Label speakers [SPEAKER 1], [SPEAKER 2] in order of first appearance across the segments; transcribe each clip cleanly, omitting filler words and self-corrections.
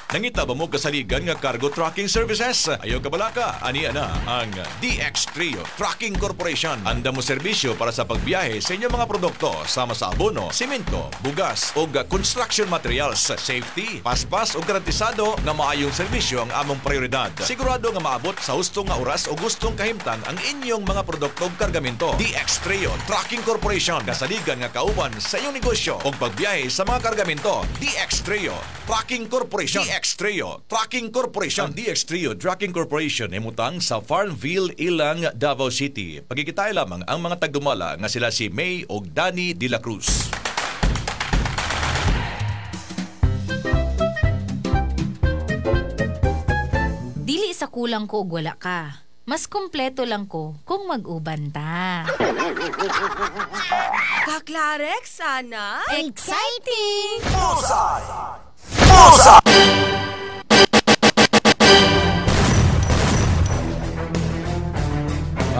[SPEAKER 1] Nangita ba mo kasaligan nga cargo trucking services? Ayaw kabalaka, ania na ang DX Trio Trucking Corporation. Anda mo serbisyo para sa pagbiyahe sa inyong mga produkto sama sa abono, simento, bugas o construction materials. Safety, paspas o garantisado nga maayong serbisyo ang among prioridad. Sigurado nga maabot sa husto nga oras o gustong kahimtang ang inyong mga produkto ug kargamento. DX Trio Trucking Corporation, kasaligan nga kauban sa inyong negosyo o pagbiyahe sa mga kargamento. DX Trio Trucking Corporation. DX Trio Trucking Corporation. Ang DX Trio Trucking Corporation imutang sa Farmville, Ilang, Davao City. Pagkikitay lamang ang mga tagdumala nga sila si May og Danny De La Cruz.
[SPEAKER 2] Dili sa kulang ko og wala ka. Mas kumpleto lang ko kung mag-uban ta.
[SPEAKER 3] Kaklarex, sana?
[SPEAKER 2] Exciting!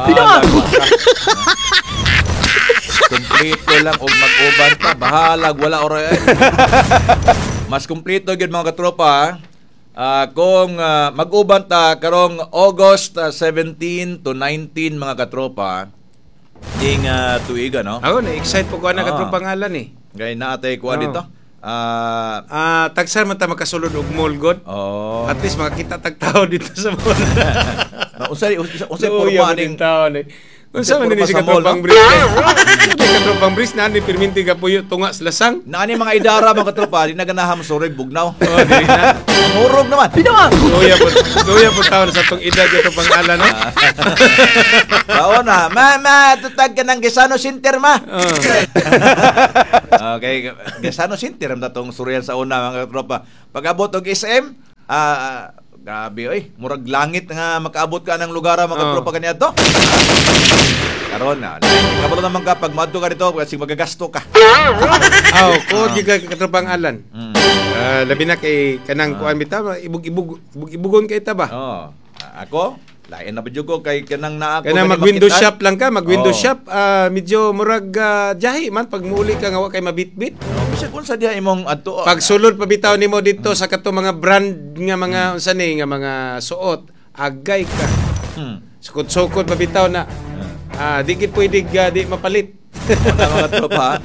[SPEAKER 4] Pino! Kompleto lang og mag-uban ta, bahalag wala oray. Mas kompleto gyud mga katropa. Kung mag-uban ta karong August 17 to 19 mga katropa ning tuiga, no?
[SPEAKER 5] Ako na-excite po ko na katropang ngalan eh.
[SPEAKER 4] Gay naatay kuan dito.
[SPEAKER 5] Tagsan man ta makasulod og mall god.
[SPEAKER 4] Oh.
[SPEAKER 5] At least makakita tag tao dito sa mall.
[SPEAKER 4] Unsay unsay porma ning
[SPEAKER 5] tao ni. Unsa man ni si
[SPEAKER 4] sa mall,
[SPEAKER 5] katropang
[SPEAKER 4] no?
[SPEAKER 5] bris? Unsa katropang bris na ni pirminti ka puyo tunga sa lasang?
[SPEAKER 4] Naani mga idara mga katropa, di na ganaham surig bugnaw.
[SPEAKER 5] Oh, dili na.
[SPEAKER 4] Murog naman.
[SPEAKER 5] Luya po taon sa tong edad katropang alan, no?
[SPEAKER 4] Sao na, ma, tutag ka ng Gisano Center, ma. Okay, Gisano Center ang datong surian sa una mga katropa. Pag-abot og SM, grabe oy, murag langit nga makaabot ka ng lugar mga katropa kaniadto. Karon na, kabalo naman ka pag maadto ka dito kasi magagasto ka.
[SPEAKER 5] Aw, ko gyud ka katropang alan. Labi na kay kanang kuan bitaw, ibug-ibug ibug-ibugon kay ta ba?
[SPEAKER 4] Oh, ako lain na ba jud ko kay kanang naa ko
[SPEAKER 5] Kanang
[SPEAKER 4] gani
[SPEAKER 5] mag-window
[SPEAKER 4] makitaan.
[SPEAKER 5] shop lang ka, mag-window shop, medyo murag jahi man pag muuli ka nga wa kay mabitbit.
[SPEAKER 4] Oh, bisag unsa diha imong adto.
[SPEAKER 5] Pag sulod pa bitaw nimo dito sa kato mga brand nga mga unsa ni nga mga suot, agay ka. Sukod-sukod pa bitaw na. Di gid pwede di mapalit.
[SPEAKER 4] Wala, mga tropa.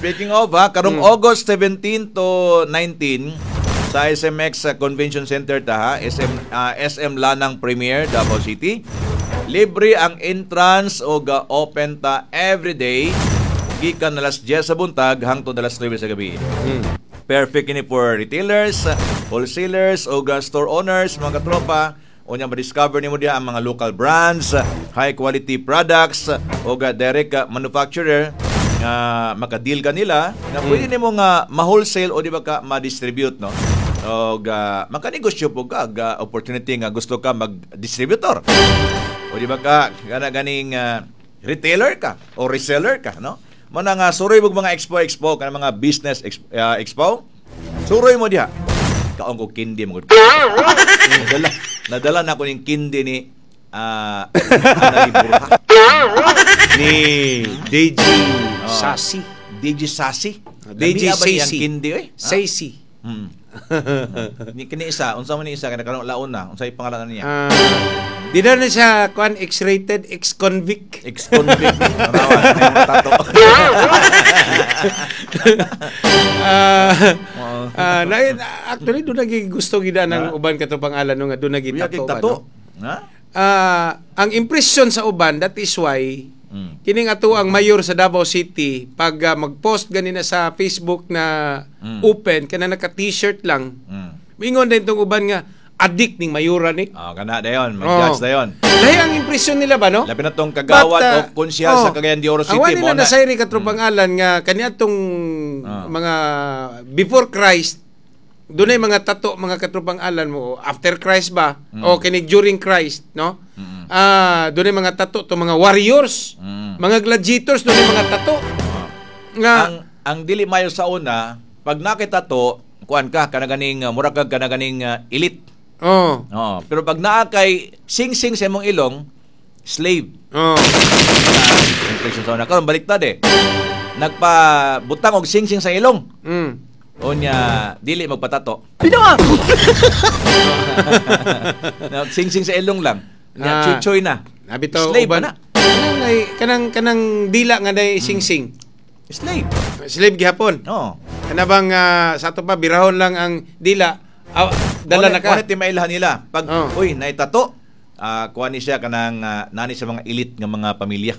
[SPEAKER 4] Speaking of, karong August 17 to 19 sa SMX Convention Center ta ha, SM, SM Lanang Premier, Davao City. Libre ang entrance o open ta everyday gikan alas 10 sa buntag hangtod alas 9 sa gabi. Perfect ini for retailers, wholesalers o store owners, mga katropa. Unya ma-discover nimo diha ang mga local brands, high quality products o direct manufacturer nga makadeal ka nila nga pwede nimo nga ma-wholesale o di ba ka ma-distribute, no? O makanegosyo po ka ga opportunity nga gusto ka mag-distributor. O di ba ka kana ganing retailer ka o reseller ka, no? Mo na nga suroy mo mga expo kana mga business expo. Suroy mo diha. Kaon ko kindi mo gud. Nadala na ko ning kindi ni Anali Burha.
[SPEAKER 5] Ni DJ Sasi.
[SPEAKER 4] DJ Sasi.
[SPEAKER 5] DJ
[SPEAKER 4] Lami ba niyang
[SPEAKER 5] Sasi.
[SPEAKER 4] kindi oy?
[SPEAKER 5] Sasi.
[SPEAKER 4] Ni kini isa, unsa man ni isa kana karon laon na, unsay pangalan niya?
[SPEAKER 5] Di na na siya kuan X-rated, ex-convict.
[SPEAKER 4] Ex-convict. Tanawa, na tato.
[SPEAKER 5] Actually doon naging gusto gid ng uban kato pangalan no nga doon naging
[SPEAKER 4] Uya kay
[SPEAKER 5] tato ba,
[SPEAKER 4] tato.
[SPEAKER 5] no?
[SPEAKER 4] Ha?
[SPEAKER 5] Ang impression sa uban, that is why kining ato ang mayor sa Davao City pag mag-post ganina sa Facebook na open kana naka t-shirt lang. Mingon din tong uban nga addict ning mayora ni.
[SPEAKER 4] Kana dayon, mag-judge dayon.
[SPEAKER 5] Lahi ang impression nila ba, no?
[SPEAKER 4] Labi na tong kagawad
[SPEAKER 5] But,
[SPEAKER 4] o konsyal sa Cagayan de Oro City.
[SPEAKER 5] Ang wala
[SPEAKER 4] mo
[SPEAKER 5] na nasayri katropang alan nga kaniadtong mga before Christ dunay mga tato mga katropang alan mo after Christ ba o kini during Christ, no? Dunay mga tato to mga warriors, mga gladiators dunay mga tato. Nga
[SPEAKER 4] ang dili mayo sa una, pag nakita to, kuan ka kana ganing mura kag kana ganing elite.
[SPEAKER 5] Oh.
[SPEAKER 4] Oo. Pero pag naa kay sing-sing sa imong ilong, slave.
[SPEAKER 5] Oh.
[SPEAKER 4] Impression sa una. Karon baliktad eh. Nagpabutang og sing-sing sa ilong. Unya dili magpatato.
[SPEAKER 3] Pinoa!
[SPEAKER 4] Sing-sing sa ilong lang. Nya
[SPEAKER 5] Ah.
[SPEAKER 4] chuchoy na.
[SPEAKER 5] Nabitaw
[SPEAKER 4] Slave
[SPEAKER 5] uban.
[SPEAKER 4] na.
[SPEAKER 5] Kanang kanang kanang dila nga day sing-sing.
[SPEAKER 4] Slave.
[SPEAKER 5] Slave gihapon.
[SPEAKER 4] Oo.
[SPEAKER 5] Kana bang sa ato pa birahon lang ang dila. Ah, dala na ka.
[SPEAKER 4] Mo timailhan nila. Pag
[SPEAKER 5] Oh.
[SPEAKER 4] uy naitato, kuha ni siya kanang nani sa mga elite nga mga pamilya.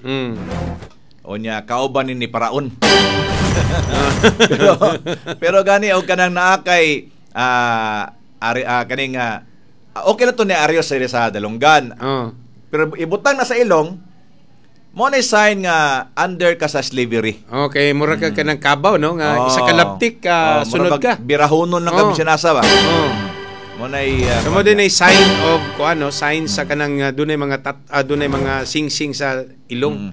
[SPEAKER 4] O niya kauban ni Paraon. Pero gani og kanang naa kay ari kaning okay na to ni Arios sa Dalunggan.
[SPEAKER 5] Oh.
[SPEAKER 4] Pero ibutang na sa ilong, mo na sign nga under ka sa slavery.
[SPEAKER 5] Okay, mura ka kanang kabaw no nga
[SPEAKER 4] Oo.
[SPEAKER 5] isa ka laptik
[SPEAKER 4] Oh,
[SPEAKER 5] sunod
[SPEAKER 4] mura
[SPEAKER 5] ka.
[SPEAKER 4] bag Birahonon lang kami
[SPEAKER 5] Oo.
[SPEAKER 4] sinasa ba.
[SPEAKER 5] Oh.
[SPEAKER 4] Mo na
[SPEAKER 5] So mo din ay sign of kuan no, sign sa kanang dunay mga dunay mga sing-sing sa ilong.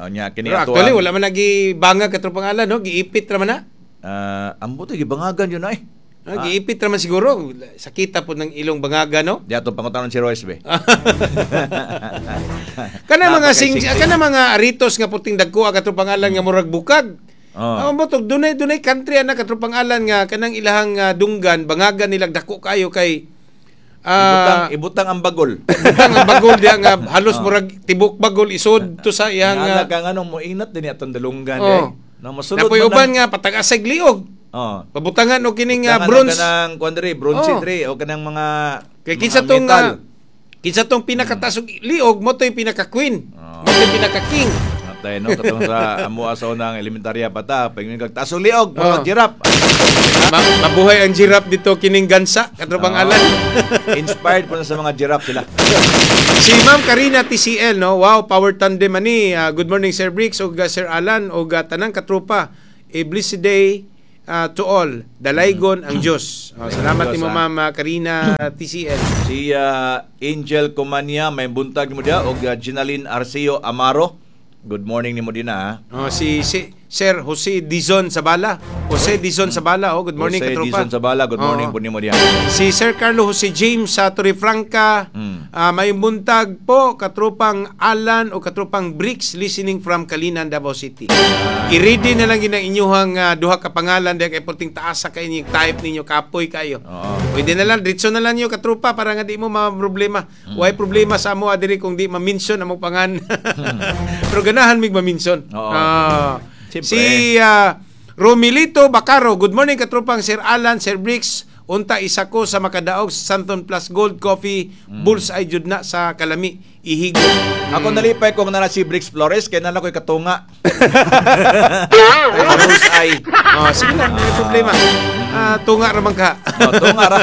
[SPEAKER 4] Nya kini
[SPEAKER 5] Pero
[SPEAKER 4] ato
[SPEAKER 5] actually
[SPEAKER 4] ang-
[SPEAKER 5] wala man nagibanga katropang alan no, giipit ra man na.
[SPEAKER 4] Ambot gibangagan yun ay.
[SPEAKER 5] Ah, giipit ra man siguro. Sakita po ng ilong bangaga no.
[SPEAKER 4] Di atong pangutanon si Royce be.
[SPEAKER 5] Kana mga
[SPEAKER 4] Napakay
[SPEAKER 5] sing
[SPEAKER 4] sing-sing.
[SPEAKER 5] kana mga aritos nga puting dagko katropang alan nga murag bukag.
[SPEAKER 4] Oh.
[SPEAKER 5] Ang botog dunay dunay country ana katropang alan nga kanang ilahang dunggan bangagan nilang dako kayo kay
[SPEAKER 4] Ibutang, ibutang ang bagol.
[SPEAKER 5] butang ang bagol diha nga halos murag tibok bagol isod to sa iyang
[SPEAKER 4] Nga ka nga nung moinat din atong dalunggan
[SPEAKER 5] Oh.
[SPEAKER 4] eh. No, mosulod
[SPEAKER 5] Napoy
[SPEAKER 4] man
[SPEAKER 5] uban
[SPEAKER 4] ang-
[SPEAKER 5] nga patag-asag liog.
[SPEAKER 4] Oh.
[SPEAKER 5] Pabutangan og kining
[SPEAKER 4] Butangan og
[SPEAKER 5] bronze.
[SPEAKER 4] kanang kuan diri, bronze
[SPEAKER 5] Oh.
[SPEAKER 4] diri o kanang mga
[SPEAKER 5] Kay
[SPEAKER 4] mga
[SPEAKER 5] kinsa tong
[SPEAKER 4] metal.
[SPEAKER 5] kinsa tong pinakataas og liog mo to'y pinaka-queen.
[SPEAKER 4] Oh.
[SPEAKER 5] Mo to'y pinaka-king.
[SPEAKER 4] Atay no katong sa amo sa unang elementarya pa ta, pag kag taas og liog,
[SPEAKER 5] Oh.
[SPEAKER 4] mga giraffe.
[SPEAKER 5] Mabuhay ang giraffe dito kining gansa katropang
[SPEAKER 4] Oh.
[SPEAKER 5] alan.
[SPEAKER 4] Inspired po na sa mga giraffe sila.
[SPEAKER 5] Si Ma'am Karina TCL no. Wow, power tandem ani. Good morning Sir Briggs ug Sir Alan ug tanang katropa. A blessed day to all. Dalaygon ang Dios. Oh, salamat
[SPEAKER 4] Diyos,
[SPEAKER 5] nimo
[SPEAKER 4] ah.
[SPEAKER 5] Ma'am Karina TCL.
[SPEAKER 4] Si Angel Comania may buntag nimo diha og Ginaline Arceo Amaro. Good morning nimo din ah.
[SPEAKER 5] Oh, si Sir Jose Dizon Sabala. Jose Dizon Sabala. Oh, good morning
[SPEAKER 4] Jose
[SPEAKER 5] katropa.
[SPEAKER 4] Dizon Sabala, good morning
[SPEAKER 5] Oo.
[SPEAKER 4] po nimo diha.
[SPEAKER 5] Si Sir Carlo Jose James sa Torrefranca, may buntag po katropang Alan o katropang Bricks listening from Kalinan, Davao City. I-ready na lang gid ang inyuhang duha ka pangalan diha kay porting taasa kay inyong type ninyo kapoy kayo.
[SPEAKER 4] Oo.
[SPEAKER 5] Pwede na lang diretso na lang niyo katropa para nga di mo ma-problema. Way problema sa amo diri kung di ma-mention among pangan. Pero ganahan mig ma-mention.
[SPEAKER 4] Oo. Siyempre.
[SPEAKER 5] Si Romilito Bacaro, good morning katropang Sir Alan, Sir Bricks. Unta isa ko sa makadaog sa Santon Plus Gold Coffee, Bullseye jud na sa Kalami, Ihigo.
[SPEAKER 4] Ako nalipay kung nana si Briggs Flores kay nana ko'y katunga. Ay, bullseye.
[SPEAKER 5] Oh, sige lang, may problema. Tunga ra man ka.
[SPEAKER 4] Oh, tunga ra.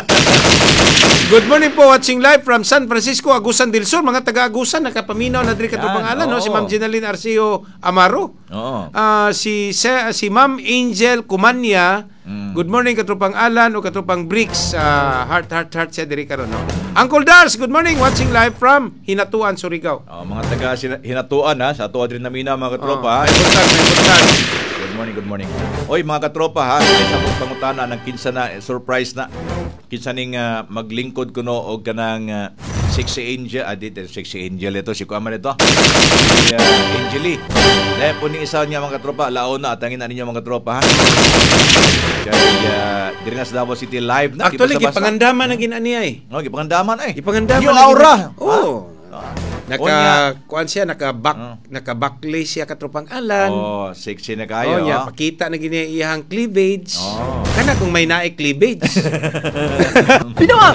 [SPEAKER 5] Good morning po, watching live from San Francisco, Agusan del Sur. Mga taga-Agusan, nakapaminaw na diri katropang
[SPEAKER 4] Yan,
[SPEAKER 5] Alan, no? Si
[SPEAKER 4] oo.
[SPEAKER 5] Ma'am Jenaline Arceo Amaro.
[SPEAKER 4] Oo.
[SPEAKER 5] Si si Ma'am Angel Kumanya. Good morning katropang Alan o katropang Bricks. Heart heart heart siya diri karon no. Uncle Dars, good morning, watching live from Hinatuan, Surigao.
[SPEAKER 4] Oh, mga taga Hinatuan ha, sa ato din namina mga katropa.
[SPEAKER 5] Oh,
[SPEAKER 4] ha.
[SPEAKER 5] may buntag, may buntag.
[SPEAKER 4] Good morning, good morning. Oy mga katropa ha, ay sa mong pangutana ng kinsa na surprise na. Kinsa ning maglingkod kuno og kanang sexy angel, di sexy angel ito si kuha man ito. Si Angeli. Dahil po ni isa niya mga katropa, laon na atangin na ninyo mga katropa ha. Kay diri na sa Davao City live na. di
[SPEAKER 5] Actually,
[SPEAKER 4] basta-basta.
[SPEAKER 5] gipangandaman na ginaniya eh.
[SPEAKER 4] No, gipangandaman ay.
[SPEAKER 5] Gipangandaman
[SPEAKER 4] New
[SPEAKER 5] na
[SPEAKER 4] aura.
[SPEAKER 5] Oo.
[SPEAKER 4] Ah.
[SPEAKER 5] Naka
[SPEAKER 4] Unya.
[SPEAKER 5] kuan siya, naka back naka backlace siya katropang Alan.
[SPEAKER 4] Oh, sexy na kayo.
[SPEAKER 5] Oh, niya,
[SPEAKER 4] ah.
[SPEAKER 5] pakita na gini iyang cleavage.
[SPEAKER 4] Oh.
[SPEAKER 5] Kana kung may naay cleavage.
[SPEAKER 3] Pinoa!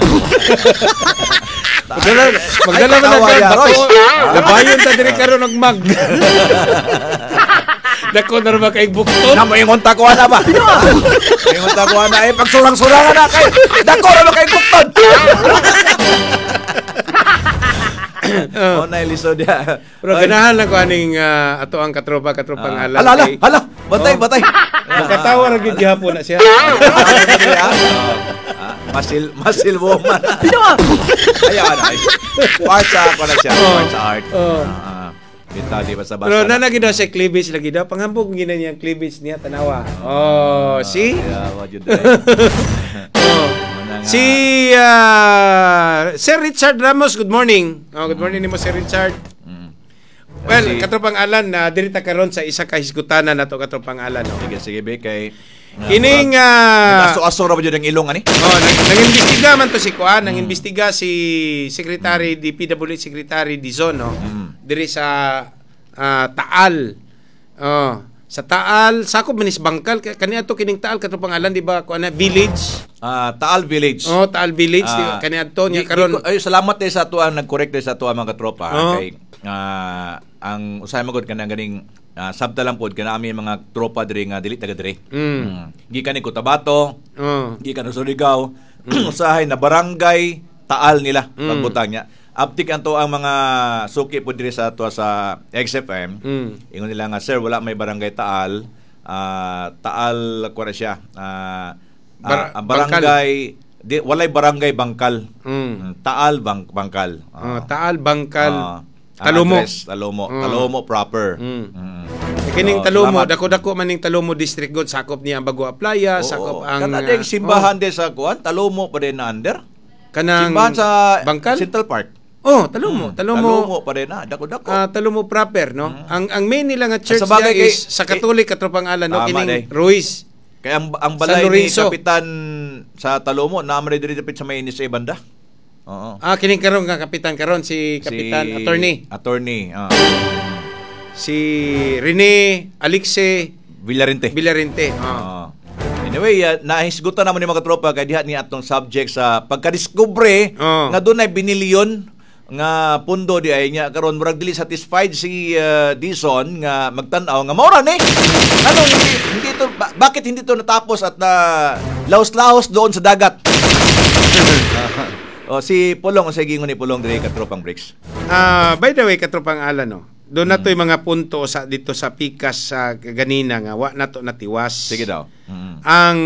[SPEAKER 5] Magdala, magdala man
[SPEAKER 4] Ay,
[SPEAKER 5] ang
[SPEAKER 4] tawa ya,
[SPEAKER 5] bato.
[SPEAKER 4] Royce.
[SPEAKER 5] Labayon ta diri karon og mag. Dako na ra ba kay bukton?
[SPEAKER 4] Na moingon ta ko ana ba? Moingon ta ko ana eh pagsurang-surangan na kay dako ra ba kay bukton. Oh, na lisod ya.
[SPEAKER 5] Pero ganahan lang ko aning ato ang katropa katropang alan.
[SPEAKER 4] Ala ala
[SPEAKER 5] kay-
[SPEAKER 4] ala, batay
[SPEAKER 5] Oh.
[SPEAKER 4] batay.
[SPEAKER 5] Makatawa ra gyud gihapon na siya.
[SPEAKER 4] Masil masil woman.
[SPEAKER 3] Pinoa!
[SPEAKER 4] Ayaw na. Part sa ako na siya, part sa art.
[SPEAKER 5] Oh.
[SPEAKER 4] Bitaw di basta basta.
[SPEAKER 5] Pero nana gid daw siya cleavage lagi daw. Panghambog gina niya ang cleavage niya tanawa. Oh, see?
[SPEAKER 4] Yeah, what you do.
[SPEAKER 5] Oh. Si Sir Richard Ramos, good morning. Oh, good morning nimo Sir Richard. Well,
[SPEAKER 4] Si-
[SPEAKER 5] katropang Alan, na diri ta karon sa isa ka hisgutanan nato katropang Alan. No?
[SPEAKER 4] Sige, sige, be, kay
[SPEAKER 5] Kining ah,
[SPEAKER 4] Aso-aso ra ba jud ang ilong ani?
[SPEAKER 5] Oh, nang-imbestiga man to si kuan, nang-imbestiga si Secretary DPWH Secretary Dizon, no. Diri sa Taal. Oh, sa Taal, sakop man is Bangkal kaniadto kining Taal kato pangalan, di ba, kuan na village.
[SPEAKER 4] Ah, Taal Village.
[SPEAKER 5] Oh, Taal Village di
[SPEAKER 4] Ah,
[SPEAKER 5] kaniadto niya karon.
[SPEAKER 4] Ay, salamat eh sa ato ang nag-correct eh sa ato ang mga tropa kay ang usahay magod kanang ganing sabta lang pod kanami mga tropa diri nga dili taga diri. Gikan ni Cotabato, gikan sa Surigao, usahay na barangay Taal nila pagbutang niya. Aptik ang to ang mga suki po diri sa ato sa XFM. Ingon nila nga, "Sir, wala may barangay Taal." Taal kuha na siya. Ang barangay di, walay barangay Bangkal. Taal Bangkal.
[SPEAKER 5] Oh, Taal Bangkal.
[SPEAKER 4] Ang
[SPEAKER 5] Talomo.
[SPEAKER 4] address, Talomo. Talomo proper.
[SPEAKER 5] Kining
[SPEAKER 4] Oh,
[SPEAKER 5] Talomo,
[SPEAKER 4] salamat.
[SPEAKER 5] dako-dako man ning Talomo District god, sakop niya ang Bago Playa, sakop ang
[SPEAKER 4] Kana ding simbahan din sa kuan, Talomo pa din na under.
[SPEAKER 5] Kanang
[SPEAKER 4] Simbahan sa
[SPEAKER 5] Bangkal?
[SPEAKER 4] Central Park.
[SPEAKER 5] Oh, Talomo, Talomo.
[SPEAKER 4] Talomo pa din na, dako-dako.
[SPEAKER 5] Ah, Talomo proper, no? Ang main nila nga church
[SPEAKER 4] Sa bagay
[SPEAKER 5] niya is sa Catholic katropang alan, no,
[SPEAKER 4] Tama,
[SPEAKER 5] kining
[SPEAKER 4] day.
[SPEAKER 5] Ruiz.
[SPEAKER 4] Kaya ang
[SPEAKER 5] San
[SPEAKER 4] balay ni
[SPEAKER 5] Lorenzo.
[SPEAKER 4] Kapitan sa Talomo, naamre diri dapit sa may NSA banda. Oo.
[SPEAKER 5] Ah, kining karon nga kapitan karon si Kapitan
[SPEAKER 4] Si
[SPEAKER 5] Attorney
[SPEAKER 4] Attorney,
[SPEAKER 5] si Rene Alixe
[SPEAKER 4] Villarente.
[SPEAKER 5] Villarente. Ah.
[SPEAKER 4] Oo. Anyway, nahisgutan naman ni mga tropa kay diha ni atong subject sa pagkadiskubre nga dunay binilyon nga pundo di ay niya karon murag dili satisfied si Dizon nga magtan-aw nga maura ni. Anong hindi, hindi to bakit hindi to natapos at na laos-laos doon sa dagat? Oh, si Pulong, unsay gingon ni Pulong diri, katropang Bricks?
[SPEAKER 5] Ah, by the way, katropang alan, no. Doon na to'y mga punto sa dito sa pikas sa ganina nga wa nato natiwas.
[SPEAKER 4] Sige daw.
[SPEAKER 5] Ang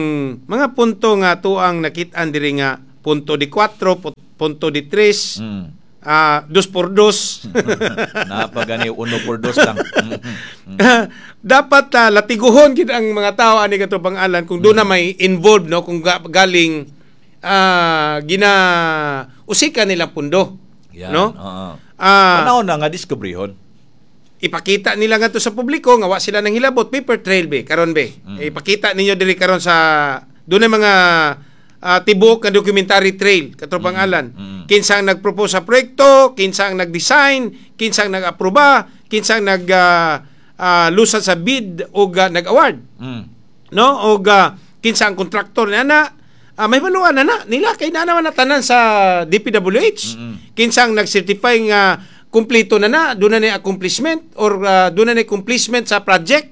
[SPEAKER 5] mga punto nga tuang nakit-an diri nga punto di 4, punto di 3, dos por dos.
[SPEAKER 4] Napagani uno por dos lang.
[SPEAKER 5] Dapat latiguhon gid ang mga tao ani, katropang alan, kung doon na may involved, no, kung galing gina usikan nila pundo.
[SPEAKER 4] Yan,
[SPEAKER 5] No?
[SPEAKER 4] oo.
[SPEAKER 5] Ah,
[SPEAKER 4] Panahon na nga diskubrihon.
[SPEAKER 5] Ipakita nila nga to sa publiko nga wa sila nang hilabot, paper trail be karon be. Ipakita ninyo diri karon sa doon mga tibuok nga documentary trail, katropang alan, kinsa ang nagpropose sa proyekto, kinsa ang nagdesign, kinsa ang nag-aproba, kinsa ang nag lusad sa bid og nag-award, no, og kinsa ang kontraktor na na may baluan na na nila kay na naman na tanan sa DPWH, kinsa ang nag-certify nga kumpleto na na, doon na ni accomplishment or doon na ni accomplishment sa project,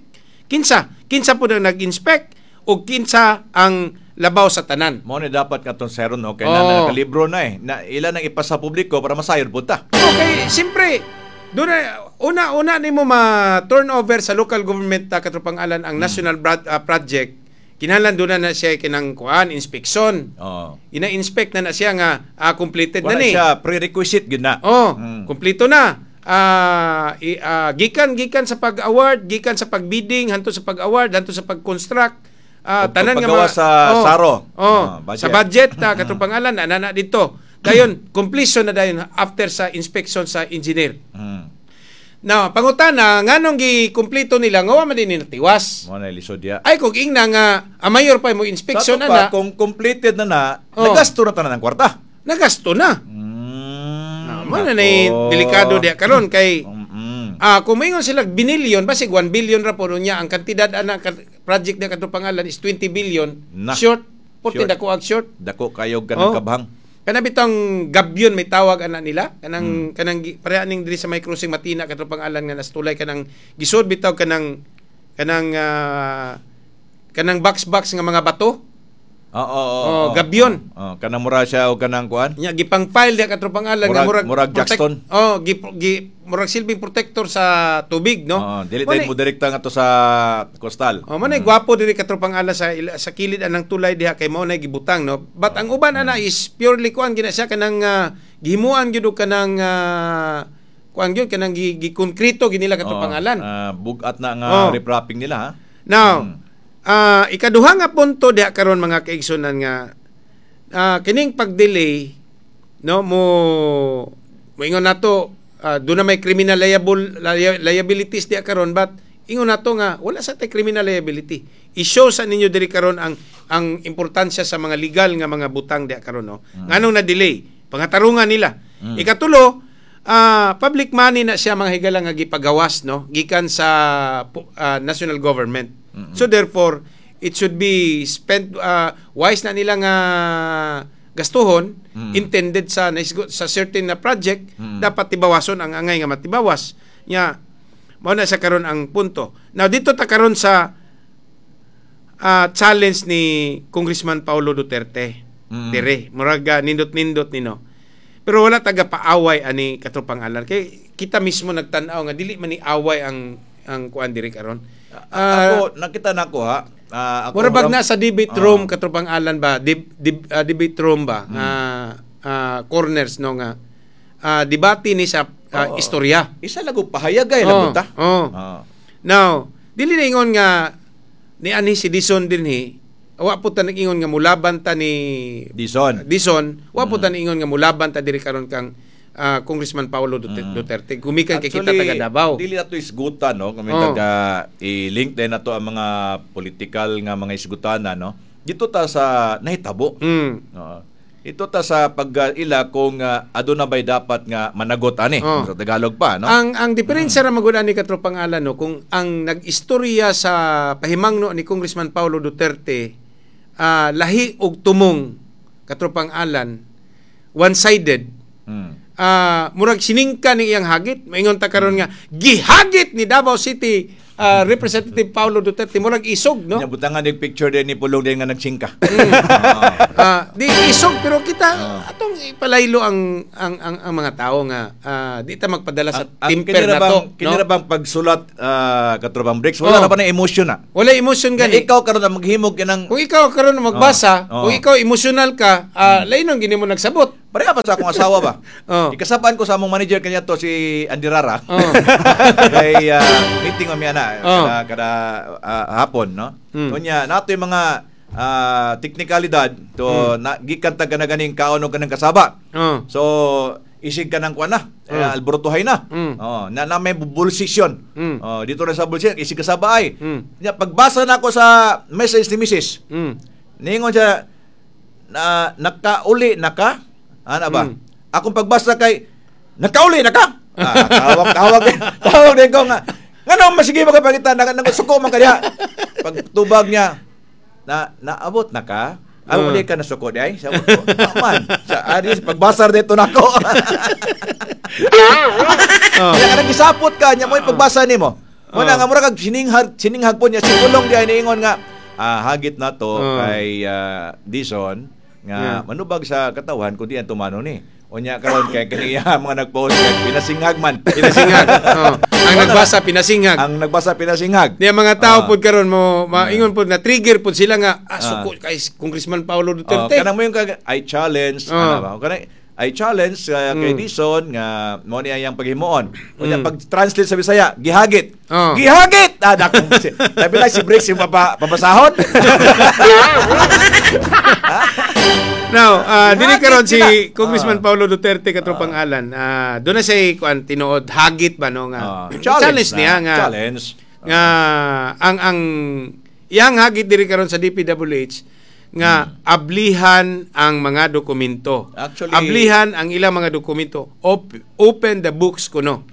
[SPEAKER 5] kinsa kinsa po ang nag-inspect o kinsa ang labaw sa tanan.
[SPEAKER 4] Mao ni dapat katong seron, no, kay na nakalibro na eh. Na ilan ang ipasa publiko para masayod pud ta.
[SPEAKER 5] Okay, siyempre, doon na, una-una nimo ma turnover sa local government ta, katropang alan, ang national project, kinahanglan doon na na siya kinang kuan inspection. Ina-inspect na na siya nga completed
[SPEAKER 4] Wala
[SPEAKER 5] na ni.
[SPEAKER 4] siya prerequisite gyud na.
[SPEAKER 5] Oh, kumpleto na. Gikan gikan sa pag-award, gikan sa pag-bidding, hanto sa pag-award, hanto sa pag-construct. Tanan nga
[SPEAKER 4] paggawa
[SPEAKER 5] mga
[SPEAKER 4] sa SARO.
[SPEAKER 5] Oh,
[SPEAKER 4] Budget.
[SPEAKER 5] sa budget ta, katropang alan, ana na dito. Dayon completion na dayon after sa inspection sa engineer. Now, pangutana nganong gi-kumpleto nila nga wa man din natiwas?
[SPEAKER 4] Mao na lisod ya.
[SPEAKER 5] Ay kung ingna nga ang mayor pa mo inspection
[SPEAKER 4] Sa ato
[SPEAKER 5] na
[SPEAKER 4] pa,
[SPEAKER 5] na,
[SPEAKER 4] kung completed na na,
[SPEAKER 5] Oh.
[SPEAKER 4] nagasto na tanan ang kwarta.
[SPEAKER 5] Nagasto na. Mo na nay
[SPEAKER 4] Nako.
[SPEAKER 5] delikado diya karon kay kung maingon sila binilyon, basig 1 billion ra po niya ang kantidad ana project na katong pangalan is 20 billion.
[SPEAKER 4] Na.
[SPEAKER 5] Short, porti
[SPEAKER 4] Short.
[SPEAKER 5] dako ang short.
[SPEAKER 4] Dako kayo ganang
[SPEAKER 5] Oh.
[SPEAKER 4] kabhang.
[SPEAKER 5] Kana bitong gabyon may tawag ana nila, kanang kanang pareha ning diri sa may crossing Matina, katong pangalan, nga nastulay kanang gisod bitaw kanang kanang kanang box box nga mga bato.
[SPEAKER 4] Oo, oo,
[SPEAKER 5] Oh,
[SPEAKER 4] oo.
[SPEAKER 5] gabyon.
[SPEAKER 4] Oo, kanang mura siya o kanang kuan.
[SPEAKER 5] Nya gipang file diha, katong pangalan, nga
[SPEAKER 4] Murag- murag Jackson.
[SPEAKER 5] Oh, gi murag silbing protector sa tubig, no?
[SPEAKER 4] Oo, dili
[SPEAKER 5] Mo
[SPEAKER 4] tayo
[SPEAKER 5] ni-
[SPEAKER 4] mo direkta nga to sa coastal.
[SPEAKER 5] Oh, man ay gwapo diri, katropang ala, sa sa kilid anang tulay diha kay mao nay gibutang, no. But ang uban ana is purely kuan gina siya kanang gihimuan gyud og kanang kuan gyud kanang gi konkreto ginila, katropang
[SPEAKER 4] Oo,
[SPEAKER 5] alan.
[SPEAKER 4] bugat na nga
[SPEAKER 5] Oh.
[SPEAKER 4] riprapping nila ha.
[SPEAKER 5] Now, ikaduha nga punto diha karon, mga kaigsunan, nga kining pag-delay, no, mo moingon nato doon na may criminal liabilities diha karon, but Ingon nato nga wala sa tay criminal liability. I-show sa ninyo diri karon ang importansya sa mga legal nga mga butang diha karon, no. Nganong na delay? Pangatarungan nila. Ikatulo, public money na siya, mga higala, nga gipagawas, no, gikan sa national government. So therefore, it should be spent wise na nila nga gastuhon, intended sa sa certain na project, dapat tibawason ang angay nga matibawas. Nya mao na sa karon ang punto. Now dito ta karon sa challenge ni Congressman Paulo Duterte. Dire, murag nindot-nindot nino. Pero wala taga paaway ani, katropang Alan. Kay kita mismo nagtan-aw nga dili man ni away ang kuan diri karon.
[SPEAKER 4] Ako nakita nako ha. Ako
[SPEAKER 5] Mura bag na sa debate room, katropang Alan ba, debate room ba, corners, no, nga debate ni sa istorya.
[SPEAKER 4] Isa lang og pahayag ay labot ta.
[SPEAKER 5] Now, dili na ingon nga ni ani si Dizon dinhi, wa po ta nag-ingon nga mulaban ta ni
[SPEAKER 4] Dizon.
[SPEAKER 5] Dizon, wa po ta niingon nga mulaban ta diri karon kang Congressman Paulo Duterte. Gumikan kay kita taga Davao.
[SPEAKER 4] Dili na to isgutan, no, kung taga i-link din na to ang mga political nga mga isgutana, no. Dito ta sa nahitabo. Oo. Ito ta sa pag-ila kung aduna ba'y dapat nga managot ani sa Tagalog pa, no.
[SPEAKER 5] Ang diferensya ra magud ani, katropang Alan, no, kung ang nag-istorya sa pahimangno ni Congressman Paulo Duterte lahi og tumong, katropang Alan, one-sided, murag siningka ni iyang hagit. Maingon ta karon nga gihagit ni Davao City Representative Paulo Duterte, murag isog, no?
[SPEAKER 4] Nya butangan yung picture din ni Pulong din nga nagsingka.
[SPEAKER 5] Di isog, pero kita atong ipalaylo ang mga tao nga di ta magpadala sa
[SPEAKER 4] Ang
[SPEAKER 5] temper
[SPEAKER 4] kini ra
[SPEAKER 5] na
[SPEAKER 4] bang
[SPEAKER 5] to,
[SPEAKER 4] kini
[SPEAKER 5] no?
[SPEAKER 4] ra bang pagsulat, katropang Bricks, wala ra ba na emotion na?
[SPEAKER 5] Wala emotion
[SPEAKER 4] Nga
[SPEAKER 5] gani.
[SPEAKER 4] ikaw karon na maghimog kanang
[SPEAKER 5] Kung ikaw karon na magbasa, kung ikaw emotional ka, lain ang gini mo nagsabot.
[SPEAKER 4] Pareha ba sa akong asawa ba?
[SPEAKER 5] Oh.
[SPEAKER 4] Ikasabaan ko sa among manager kanya to si Andy Rara. Kay meeting kami ana kada, kada hapon, no. Unya nato yung mga teknikalidad to na gikan ta kana ganing kaon og kanang kasaba. So isig ka ng kuan na, alborotohay na. Oh, na, na may bulsisyon. Oh, dito na sa bulsisyon, isig kasaba ay. Nya pagbasa na ako sa message ni Mrs. Ningon siya na nakauli na ka? Ana ba? Akong pagbasa kay nakauli na ka? Tawag tawag tawag din ko nga. Ngano masige makapagita na nagsuko man kaniya. Pagtubag niya na naabot na ka? Uli ka na suko di ay? Sa ko, man. Sa aris pagbasar dito nako. Kaya ka nagisapot ka niya mo pagbasa nimo. Mo na nga mura kag sininghag sininghag po niya si Pulong di ay niingon nga hagit na to kay Dizon nga manubag sa katawan kundi ang tumano ni. Unya karon kay kaniya mga nagpost kay pinasingag man.
[SPEAKER 5] Pinasingag. Oh. Ang nagbasa pinasinghag.
[SPEAKER 4] Ang nagbasa pinasinghag.
[SPEAKER 5] Niya mga tao pod karon mo maingon pod na trigger pod sila nga suko kay Congressman Paulo
[SPEAKER 4] Oh,
[SPEAKER 5] Duterte.
[SPEAKER 4] kanang mo yung kag I challenge ano ba? Kanang I challenge kay Dizon nga mo niya iyang paghimuon. Unya pag translate sa Bisaya, gihagit. Gihagit. Dakong si, sabi lang si Briggs yung pabasahon.
[SPEAKER 5] Now, dili
[SPEAKER 4] Gihagit
[SPEAKER 5] karon si
[SPEAKER 4] sila.
[SPEAKER 5] Congressman Paulo Duterte, katropang Alan. Doon na siya kuan tinuod hagit ba, no, nga challenge
[SPEAKER 4] na.
[SPEAKER 5] niya nga
[SPEAKER 4] Challenge.
[SPEAKER 5] Nga ang iyang hagit diri karon sa DPWH nga ablihan ang mga dokumento.
[SPEAKER 4] Actually-
[SPEAKER 5] Ablihan ang ilang mga dokumento. Open the books kuno.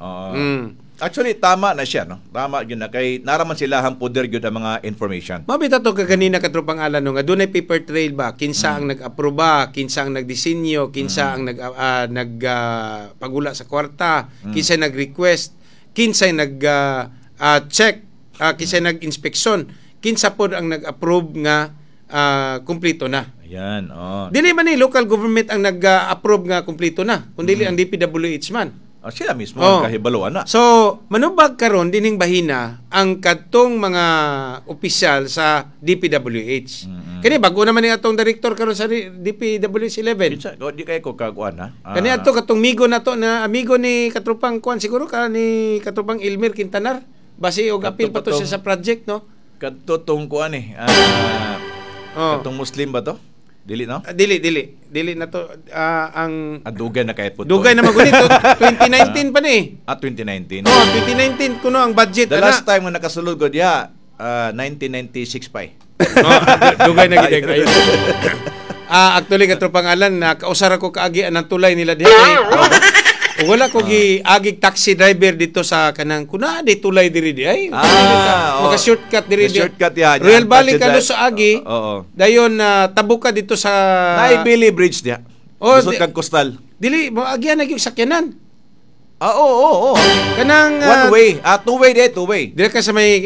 [SPEAKER 4] Actually tama na siya, no. Tama gyud na kay naraman sila ang poder gyud ang mga information.
[SPEAKER 5] Mabita to kaganina, katropang Alan, no, nga dunay paper trail ba, kinsa ang nag-aproba, kinsa ang nagdisenyo, kinsa ang nag nag pagula sa kwarta, kinsa nag-request, kinsa nag check, kinsa nag-inspeksyon, kinsa pod ang nag-approve nga kumpleto na.
[SPEAKER 4] Ayan, oh.
[SPEAKER 5] Dili man ni local government ang nag-approve nga kumpleto na, kundi ang DPWH man.
[SPEAKER 4] Oh, sila mismo ang kahibaluan na.
[SPEAKER 5] So, manubag karon dining bahina ang kadtong mga opisyal sa DPWH. Kani bago naman ni atong director karon sa DPWH 11.
[SPEAKER 4] Kinsa, di kay ko kakuan ha.
[SPEAKER 5] Kani ato katong migo na to na amigo ni katropang kuan siguro ka ni katropang Elmer Quintanar. Basi og apil pa to siya sa project, no.
[SPEAKER 4] Kadto tong kuan eh. Katong Muslim ba to? Dili no?
[SPEAKER 5] Dili dili. Dili na to ang
[SPEAKER 4] Dugay na kahit po.
[SPEAKER 5] Dugay na maguni to 2019 pa ni.
[SPEAKER 4] 2019.
[SPEAKER 5] Oh, 2019 kuno ang budget
[SPEAKER 4] The
[SPEAKER 5] ana.
[SPEAKER 4] last time nga nakasulod ko diha, 1996 pa eh.
[SPEAKER 5] Oh, dugay na gid kayo. Actually katropang Alan, na kausar ako kaagi ang tulay nila diha. Eh. Wala ko gi agig taxi driver dito sa kanang kuna di tulay diri di ay.
[SPEAKER 4] Oh.
[SPEAKER 5] Maka shortcut diri di.
[SPEAKER 4] Shortcut yan.
[SPEAKER 5] Royal Valley
[SPEAKER 4] Taxi
[SPEAKER 5] ka
[SPEAKER 4] driver.
[SPEAKER 5] sa agi.
[SPEAKER 4] Oo.
[SPEAKER 5] Dayon tabok ka dito sa
[SPEAKER 4] Naibili bridge diha.
[SPEAKER 5] Oh,
[SPEAKER 4] Lusot kag coastal.
[SPEAKER 5] Dili mo agian na gyud sakyanan.
[SPEAKER 4] Oo.
[SPEAKER 5] Kanang
[SPEAKER 4] One way. Two way di, two way.
[SPEAKER 5] Dire ka sa may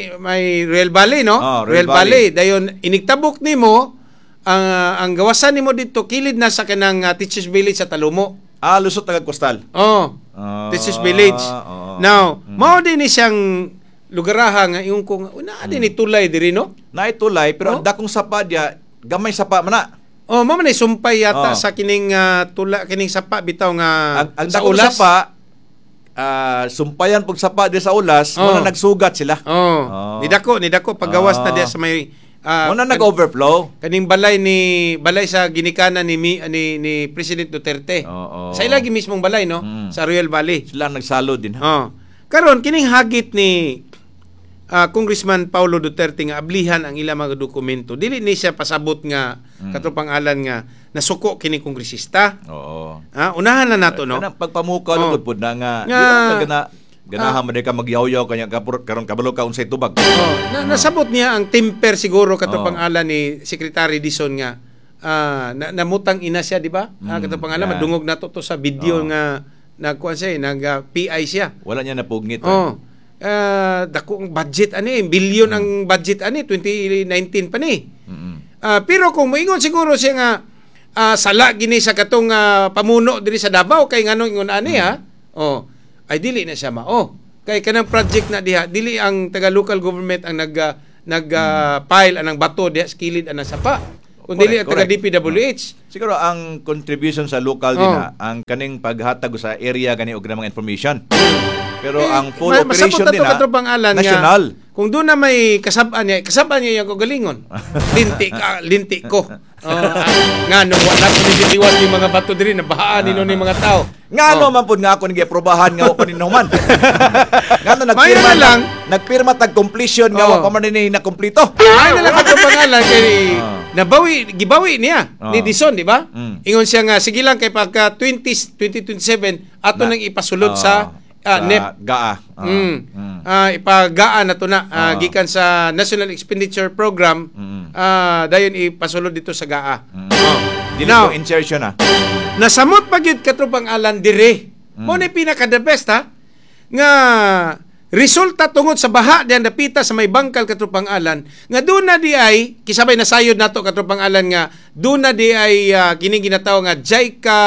[SPEAKER 5] Royal Valley, no?
[SPEAKER 4] Oh,
[SPEAKER 5] Royal
[SPEAKER 4] Royal
[SPEAKER 5] Valley. Dayon inigtabok nimo ang gawasan nimo dito kilid na sa kanang Teachers Village sa Talumo.
[SPEAKER 4] Lusot na kag coastal.
[SPEAKER 5] Oh. Teachers Village.
[SPEAKER 4] Oo.
[SPEAKER 5] Now, mao din ni siyang lugaraha nga yung kung una din ni tulay diri, no?
[SPEAKER 4] Naitulay pero
[SPEAKER 5] Oh.
[SPEAKER 4] ang dakong sapa diha, gamay sapa man na.
[SPEAKER 5] Oh, mao man ni sumpay yata
[SPEAKER 4] Oh.
[SPEAKER 5] sa kining tula kining sapa bitaw nga
[SPEAKER 4] Ang
[SPEAKER 5] sa
[SPEAKER 4] dakong
[SPEAKER 5] ulas.
[SPEAKER 4] sapa, sumpayan pag sapa di sa ulas,
[SPEAKER 5] Oh.
[SPEAKER 4] mo na nagsugat sila.
[SPEAKER 5] Oh.
[SPEAKER 4] Oh.
[SPEAKER 5] Nidako paggawas na
[SPEAKER 4] Oh.
[SPEAKER 5] diya sa may
[SPEAKER 4] Mo na nag-overflow.
[SPEAKER 5] Kaning balay ni balay sa ginikanan ni mi, ni, ni President Duterte.
[SPEAKER 4] Oo.
[SPEAKER 5] Sa ilagi mismong balay, no? Sa Royal Valley.
[SPEAKER 4] Sila ang nagsalo din. Ha?
[SPEAKER 5] Oh. Karon kining hagit ni Congressman Paulo Duterte nga ablihan ang ilang mga dokumento. Dili ni siya pasabot nga katropang Alan nga nasuko kini kongresista.
[SPEAKER 4] Oo.
[SPEAKER 5] Unahan na nato, no?
[SPEAKER 4] Kanang pagpamukaw
[SPEAKER 5] Oh.
[SPEAKER 4] oh. pud na nga.
[SPEAKER 5] Nga-
[SPEAKER 4] Di ba ka ganahan man ka magyawyaw kanya ka karon kabalo ka unsay tubag.
[SPEAKER 5] Oh, nasabot niya ang temper siguro katropang
[SPEAKER 4] Oh.
[SPEAKER 5] Alan ni Secretary Dizon nga namutang ina siya, di ba? Katropang Alan, madungog na to sa video nga nagkuan siya, nag PI siya.
[SPEAKER 4] Wala niya napugnit. Eh.
[SPEAKER 5] Oh. Dako ang budget ani, billion ang budget ani 2019 pa ni. Pero kung moingon siguro siya nga sala gini sa katong pamuno diri sa Davao kay nganong ingon ani ha. Oh, ay dili na siya mao. Kay kanang project na diha, dili ang taga local government ang nag nag pile anang bato diha sa kilid anang sapa. Kun dili ang taga DPWH.
[SPEAKER 4] Siguro ang contribution sa local din
[SPEAKER 5] Oh.
[SPEAKER 4] ha, ang kaning paghatag sa area gani og mga information. Pero
[SPEAKER 5] Eh,
[SPEAKER 4] ang full
[SPEAKER 5] masabot
[SPEAKER 4] operation
[SPEAKER 5] na
[SPEAKER 4] din
[SPEAKER 5] to
[SPEAKER 4] ha,
[SPEAKER 5] katropang Alan nga,
[SPEAKER 4] national.
[SPEAKER 5] Kung doon na may kasab-an niya, kasab-an niya yung kagalingon. Linti ka, linti ko. Oh, nga no wala ko nililiwat yung mga bato diri nabahaan nino ni mga tao.
[SPEAKER 4] Nga no
[SPEAKER 5] Oh.
[SPEAKER 4] man pud nga ako giaprobahan nga wa pa ni human. Nga no
[SPEAKER 5] Mayo
[SPEAKER 4] nagpirma
[SPEAKER 5] na lang.
[SPEAKER 4] Nagpirma tag completion nga
[SPEAKER 5] Oh.
[SPEAKER 4] wa pa man ni na kompleto.
[SPEAKER 5] Ay na lang katropang Alan kay nabawi gibawi niya ni Dizon, di ba? Ingon siya nga sige lang kay pagka 2027 ato nang ipasulod sa NEP.
[SPEAKER 4] GAA.
[SPEAKER 5] Ipagaan na to na gikan sa National Expenditure Program dayon ipasulod dito sa GAA. Oh.
[SPEAKER 4] Dili
[SPEAKER 5] Now,
[SPEAKER 4] ko insertion ha.
[SPEAKER 5] Nasamot pa gyud katropang Alan dire. Mo ni pinaka the best ha nga resulta tungod sa baha diyan dapita sa may bangkal katropang Alan nga doon na di ay kisabay nasayod nato katropang Alan nga doon na di ay kining ginatawag nga JICA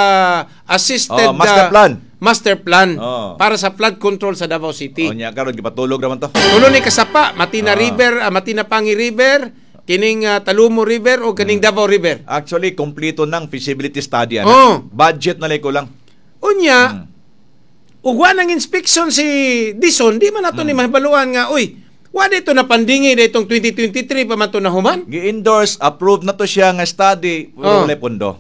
[SPEAKER 5] assisted
[SPEAKER 4] Oh, master plan.
[SPEAKER 5] Master plan
[SPEAKER 4] Oh.
[SPEAKER 5] para sa flood control sa Davao City.
[SPEAKER 4] O nya karon gipatulog raman to.
[SPEAKER 5] Tulo ni kasapa, Matina River, Matina Pangi River, kining Talumo River o kining Davao River.
[SPEAKER 4] Actually kompleto ng feasibility study ana.
[SPEAKER 5] Oh.
[SPEAKER 4] Budget na lang kulang.
[SPEAKER 5] Unya, ug wa nang inspection si Dizon, di man nato ni mahibaluan nga, uy, wa dito na pandingi ditong 2023 pa man to nahuman.
[SPEAKER 4] Gi-endorse, approved na to siya nga study, pero
[SPEAKER 5] Oh.
[SPEAKER 4] walay pondo.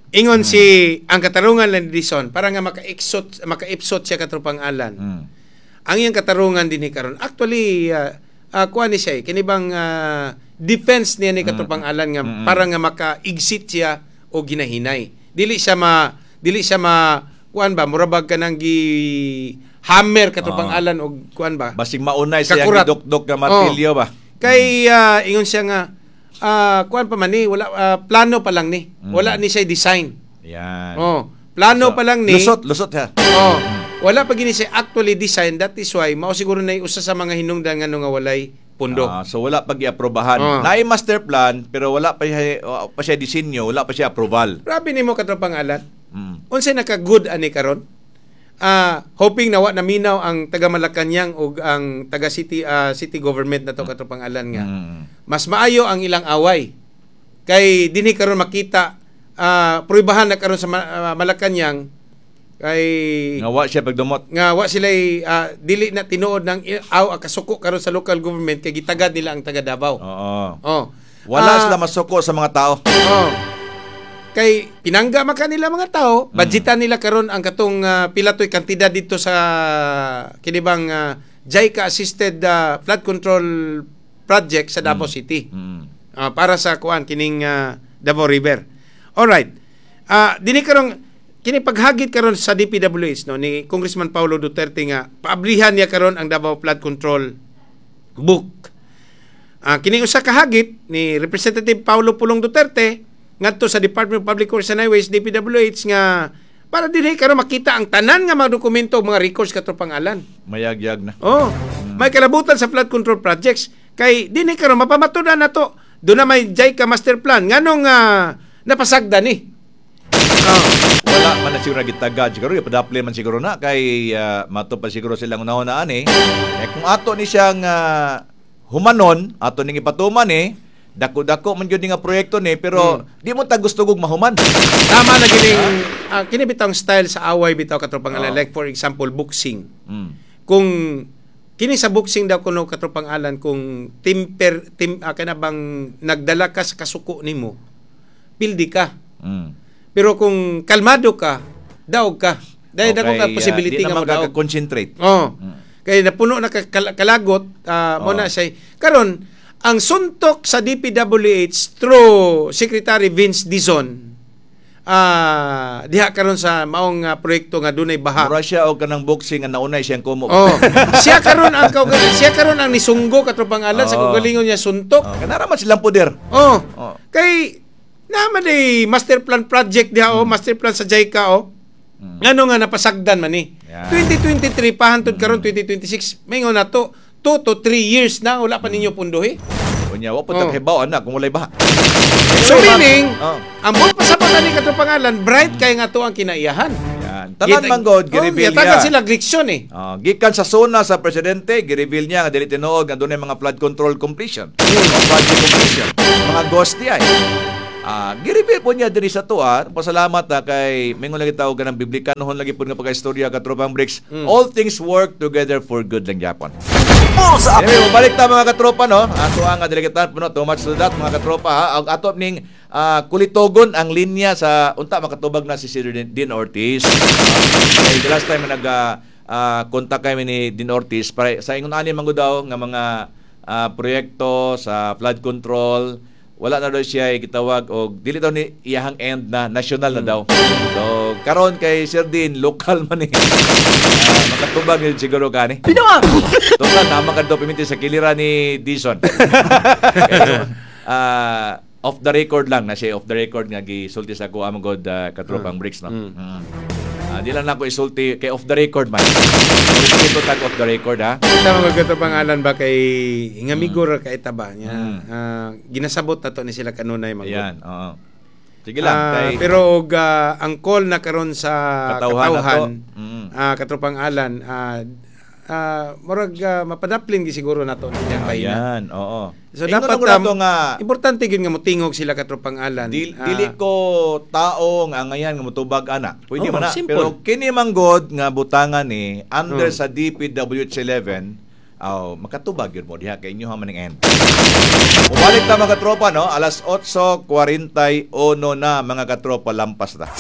[SPEAKER 5] Ingon si ang katarungan lang ni Dizon para nga maka-exot maka-ipsot siya katropang Alan. Ang iyang katarungan din ni karon. Actually, kuha ni siya eh, kini bang defense niya ni katropang Alan nga para nga maka-exit siya o ginahinay. Dili siya ma kuan ba murabag ka nang gi hammer katropang Alan og kuan ba.
[SPEAKER 4] Basig maunay sa iyang
[SPEAKER 5] Kakurat.
[SPEAKER 4] gidukdok nga martilyo ba.
[SPEAKER 5] Kay ingon siya nga kuan pa man ni wala plano pa lang ni. Wala ni siya design.
[SPEAKER 4] Yan.
[SPEAKER 5] Oh, plano
[SPEAKER 4] So,
[SPEAKER 5] pa lang ni.
[SPEAKER 4] Lusot, lusot ha.
[SPEAKER 5] Oh, wala pa gini siya actually design. That is why mao siguro na usa sa mga hinungdan nga nga walay pundo.
[SPEAKER 4] So wala pa giaprobahan.
[SPEAKER 5] Oh.
[SPEAKER 4] Naay master plan pero wala pa siya disenyo, wala pa siya approval.
[SPEAKER 5] Grabe nimo katropang Alan. Unsay naka good ani karon? Hoping na wa naminaw ang taga Malacañang ug ang taga city city government na to katropang Alan nga. Mas maayo ang ilang away. Kay dinhi karon makita pruibahan na karon sa Malacañang kay
[SPEAKER 4] Nga wa siya pagdumot.
[SPEAKER 5] Nga wa sila dili na tinuod ng aw kasuko karon sa local government kay gitagad nila ang taga Davao.
[SPEAKER 4] Oo.
[SPEAKER 5] Oh.
[SPEAKER 4] Wala sila masuko sa mga tao.
[SPEAKER 5] Oh. Kay pinangga man kanila mga tao, budgetan nila karon ang katong pila to'y kantidad dito sa kinibang JICA assisted flood control project sa Davao City. Para sa kuan kining Davao River. All right. Dinhi karon kini paghagit karon sa DPWH, no, ni Congressman Paulo Duterte nga paablihan niya karon ang Davao Flood Control Book. Kini usa ka hagit ni Representative Paulo Pulong Duterte ngadto sa Department of Public Works and Highways, DPWH, nga para dinhi karon makita ang tanan nga mga dokumento, mga records, katropang Alan.
[SPEAKER 4] Mayagyag na.
[SPEAKER 5] Oh, may kalabutan sa flood control projects kay dinhi karon mapamatud-an nato do na may JICA master plan nganong napasagdan ni. Oh.
[SPEAKER 4] Wala man na siguro gitagad siguro, ipadapli man siguro na kay mato pa siguro silang unahon eh. Eh kung ato ni siyang humanon, ato ning ipatuman eh, dako-dako man gyud ni nga proyekto ni, pero di mo ta gusto og mahuman.
[SPEAKER 5] Tama na gining kini bitawng style sa away bitaw, katropang Alan.
[SPEAKER 4] Oo.
[SPEAKER 5] Like for example, boxing. Kung kini sa boxing daw kuno, katropang Alan, kung temper tim kana bang nagdala ka sa kasuko nimo, pildi ka. Pero kung kalmado ka, daog ka. Dahil dako ka possibility
[SPEAKER 4] di
[SPEAKER 5] nga
[SPEAKER 4] na
[SPEAKER 5] mo daog.
[SPEAKER 4] concentrate.
[SPEAKER 5] Oh. Kay napuno na ka kalagot, mo na siya. Karon, ang suntok sa DPWH through Secretary Vince Dizon diha karon sa maong proyekto nga dunay baha.
[SPEAKER 4] Mura siya og kanang boxing nga naunay siyang kumo.
[SPEAKER 5] Oh. Siya karon ang nisunggo, katropang Alan, sa kaugalingon niya suntok.
[SPEAKER 4] Oh, kanara man silang poder.
[SPEAKER 5] Oh.
[SPEAKER 4] Oh.
[SPEAKER 5] Kay naman eh master plan project diha oh, master plan sa JICA oh. Ngano nga napasagdan man ni.
[SPEAKER 4] Yeah.
[SPEAKER 5] 2023 pa hantod karon 2026, maingon na to 2 to 3 years na wala pa ninyo punduhi.
[SPEAKER 4] Unya wa pud
[SPEAKER 5] Oh.
[SPEAKER 4] taghibaw ana kung walay baha.
[SPEAKER 5] So meaning,
[SPEAKER 4] Oh.
[SPEAKER 5] ang buong pasabot ani katropang Alan, bright kay nga to ang kinaiyahan.
[SPEAKER 4] Yan. Tanan man god gireveal
[SPEAKER 5] niya.
[SPEAKER 4] niya.
[SPEAKER 5] Sila leksyon eh.
[SPEAKER 4] Oh, gikan sa zona sa presidente, gireveal niya nga dili tinuod nga dunay mga flood control completion. O project completion. Mga ghost di ay. Gireveal po niya diri sa tuwa. Pasalamat kay mingon lagi tawag kanang biblikanhon lagi pud nga pagkaistorya katropang Bricks. All things work together for good lang gyapon.
[SPEAKER 3] Pulsa
[SPEAKER 4] Anyway, mabalik ta mga katropa, no. Ato ang delegatan puno too much to that mga katropa ha. Ang ato ning kulitogon ang linya sa unta makatubag na si Sir Dean Ortiz. Kay the last time na nag contact kami ni Dean Ortiz para sa ingon ani man gud daw nga mga proyekto sa flood control, wala na daw siya gitawag og dili daw ni iyahang end na national na daw. So karon kay Sir Dean local man ni. Makatubag yun siguro kani.
[SPEAKER 3] Binuang!
[SPEAKER 4] Total, naman ka daw piminti sa kilira ni Dizon. Off the record lang na siya, off the record nga gisulti sa ako among god katropang Bricks, no. Di lang na ako isulti kay off the record man. Respeto tag off the record ha.
[SPEAKER 5] Kita mga katropang Alan ba kay ingamigo ra kay taba niya. Ginasabot na to ni sila kanunay mga.
[SPEAKER 4] Ayan, oo. Sige lang kay
[SPEAKER 5] pero og ang call na karon sa
[SPEAKER 4] Katawhan na to.
[SPEAKER 5] katawhan, katropang Alan, murag mapadaplin gi siguro nato niya kay na.
[SPEAKER 4] Ayan, oo.
[SPEAKER 5] So
[SPEAKER 4] Ingon
[SPEAKER 5] dapat
[SPEAKER 4] lang ko na to nga
[SPEAKER 5] importante gyud nga motingog sila, katropang Alan.
[SPEAKER 4] Dili ko tao nga angayan nga motubag ana. Pwede
[SPEAKER 5] Oo,
[SPEAKER 4] man na.
[SPEAKER 5] simple.
[SPEAKER 4] Pero kini man god nga butangan ni under sa DPWH 11, aw makatubag yun mo diha kay inyo man ning end. Mubalik ta mga katropa, no, alas 8:41 na mga katropa, lampas na.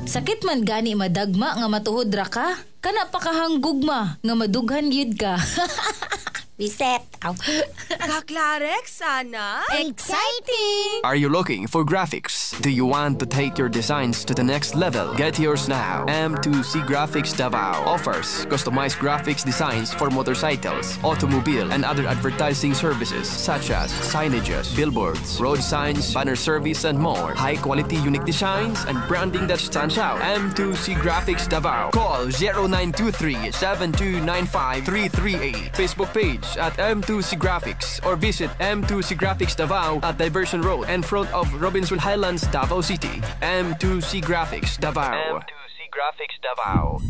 [SPEAKER 2] Sakit man gani madagma nga matuhod ra ka. Kana pa kahanggugma nga madughan gyud ka. Reset. Aw.
[SPEAKER 6] Kaklarex, sana?
[SPEAKER 2] Exciting!
[SPEAKER 7] Are you looking for graphics? Do you want to take your designs to the next level? Get yours now. M2C Graphics Davao offers customized graphics designs for motorcycles, automobile, and other advertising services such as signages, billboards, road signs, banner service, and more. High quality, unique designs and branding that stands out. M2C Graphics Davao. Call 0923 7295 338. Facebook page at M2C Graphics or visit M2C Graphics Davao at Diversion Road in front of Robinson Highlands, Davao City. M2C Graphics Davao. M2C Graphics Davao.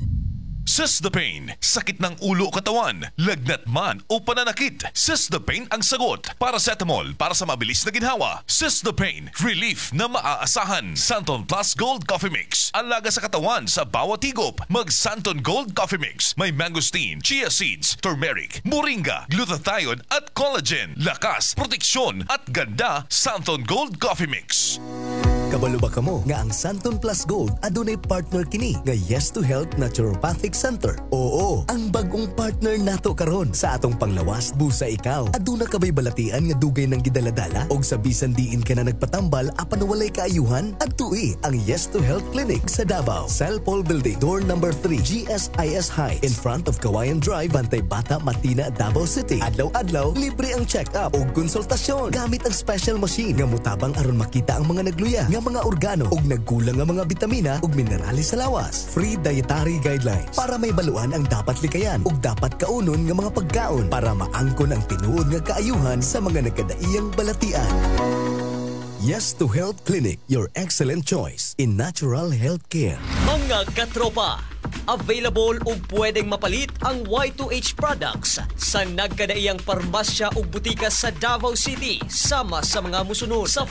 [SPEAKER 1] Sis the Pain, sakit ng ulo o katawan, lagnat man o pananakit. Sis the Pain ang sagot. Paracetamol para sa mabilis na ginhawa. Sis the Pain, relief na maaasahan. Santon Plus Gold Coffee Mix, alaga sa katawan sa bawat higop. Mag Santon Gold Coffee Mix, may mangosteen, chia seeds, turmeric, moringa, glutathione at collagen. Lakas, proteksyon at ganda, Santon Gold Coffee Mix.
[SPEAKER 8] Kabalo ba kamo nga ang Santon Plus Gold adunay partner kini nga Yes to Health Naturopathic Center? Oo, ang bagong partner nato karon sa atong panglawas, busa ikaw. Aduna ka bay balatian nga dugay nang gidaladala og sa bisan diin ka na nagpatambal apan walay kaayuhan? Adtui ang Yes to Health Clinic sa Davao. Cellpol Building, door number 3, GSIS High, in front of Kawayan Drive, Bantay Bata, Matina, Davao City. Adlaw-adlaw, libre ang check-up ug konsultasyon gamit ang special machine nga mutabang aron makita ang mga nagluya nga mga organo ug nagkulang nga mga bitamina ug minerales sa lawas. Free dietary guidelines para mahibaluan ang dapat likayan ug dapat kaunon nga mga pagkaon para maangkon ang tinuod nga kaayuhan sa mga nagkadaiyang balatian. Yes to Health Clinic, your excellent choice in natural health care.
[SPEAKER 3] Mga katropa, available ug pwedeng mapalit ang Y2H products sa nagkadaiyang parmasya ug butika sa Davao City sama sa mga musunod sa